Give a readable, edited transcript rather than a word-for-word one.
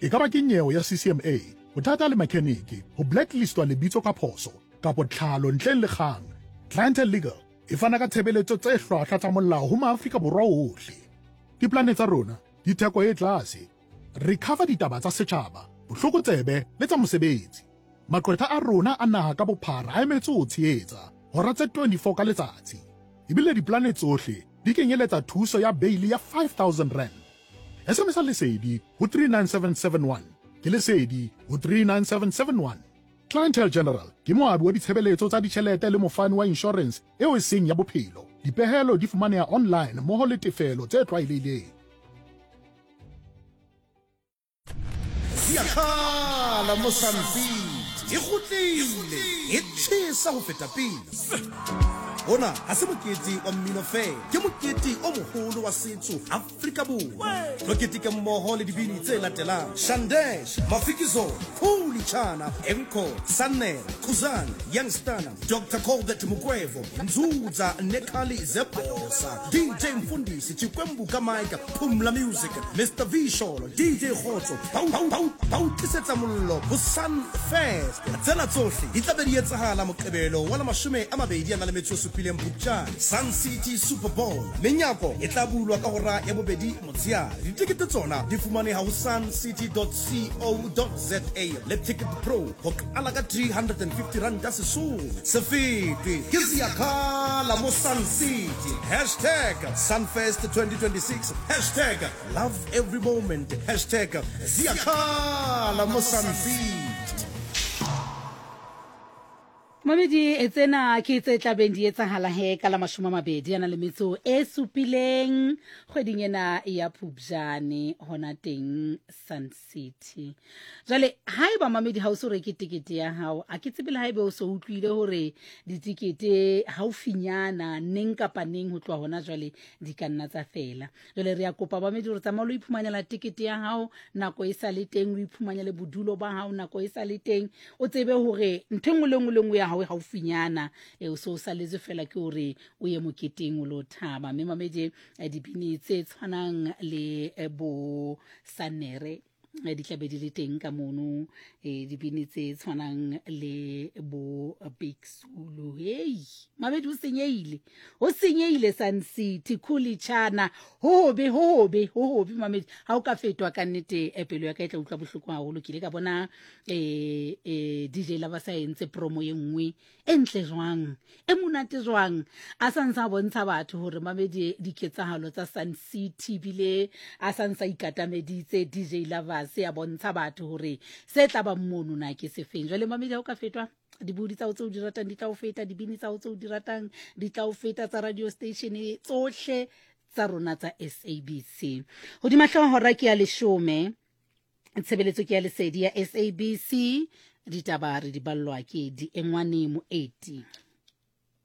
E ka ba ke nyewe ya CCMA, bothata le makheniki, ho blacklistwa lebitso ka phoso, kapo tlhalo ntleng le kgang, Clientele Legal e fana ka tshebeletso tse hlwahlwa tsa molao ho maAfrika Borwa ohle. Diplane tsa rona di theko e tlase. Re cover ditaba tsa setjhaba, bohlokotsebe le tsa mosebetsi. Maqwetha a rona a naha ka bophara a emetse ho tshehetsa, hora tse 24 ka letsatsi. Ebile diplane tsohle di kenyeletsa thuso ya beili ya R5000. SMS-a Lesedi ho 39771. Ke Lesedi ho 39771. Clientele General ke moabi wa ditshebeletso tsa ditjhelete le mofani wa inshorense eo e seng ya bophelo. Dipehelo di fumaneha online mmoho le tefelo tse tlwaelehileng. Ziyakhala Mozambique e kgutlile e tjhesa ho feta pele. Hona ha se mokete wa mmino feela, ke mokete o moholo wa setso Afrika Borwa. Tlo keteke mmoho le dibini tse latelang: Shandesh, Mafikizolo, Khuli Chana, Enco, Sannere, Khuzani, Youngstana, Dr Colbert Mukwevho, Nzudza Nekhali Zebhosa, DJ Mfundisi, Chikwembu ka Mike, Phumla Music, Mr V Sholo, DJ Kgotso, ba o tlisetsa mollo ho Sun Fest. Tsena tsohle di tla be di etsahala Moqebelo wa la 27 Phupjane, Sun City Super Bowl. Menyako e tla bulwa ka hora ya bobedi motsheare. Ditekete tsona di fumaneha ho suncity.co.za le Ticket Pro ho qala ka R350 Sesotho. Se fetwe ke Ziyakhala mo Sun City. Hashtag Sunfest 2026. Hashtag love every moment. Hashtag Ziyakhala mo Sun City. Mamedi tsena ke tse tlabeng di etsahala he ka la 20 a na le metso e supileng kgweding ena ya Phupjane hona teng Sun City. Jwale haeba mamedi ha o so reke tekete ya hao, a ke tsebe le haebe o so utlwile hore ditekete haufinyana neng kapa neng ho tloha hona jwale di ka nna tsa fela. Jwale re a kopa bamedi hore tsamaya o lo iphumanela tekete ya hao nako e sa le teng, o iphumanele bodulo ba hao nako e sa le teng, o tsebe hore ntho e nngwe le nngwe le nngwe ya hao e haufinyana. E, o se o saletswe fela ke hore o ye moketeng o lo thaba. Mme mamedi dibini tse tshwanang le bo Sanere di tla be di le teng ka mono, dibini tse tshwanang le bo Big Zulu. Hei mabedi, o senyehile, o senyehile Sun City Khuli Chana, ho hobe, ho hobe, ho hobe mamedi. Ha o ka fetwa ka nnete, pelo ya ka e tla utlwa bohloko haholo. Ke ile ka bona DJ Lava sa entse promo ye nngwe e ntle jwang, e monate jwang, a sa ntse a bontsha batho hore mamedi diketsahalo tsa Sun City, bile a sa ntse a ikatameditse DJ Lovers a bontsha batho hore se tla bang mono na ke sefeng. Jwale mamedi, ha o ka fetwa, dibodi tsa o tseo di ratang di tla o feta, dibini tsa o tseo di ratang di tla o feta, tsa radio station tsohle tsa rona tsa SABC. Hodima hlooho hora ke ya 10, tshebeletso ke ya lesedi ya SABC, ditaba re di ballwa ke Diengwane Moeti.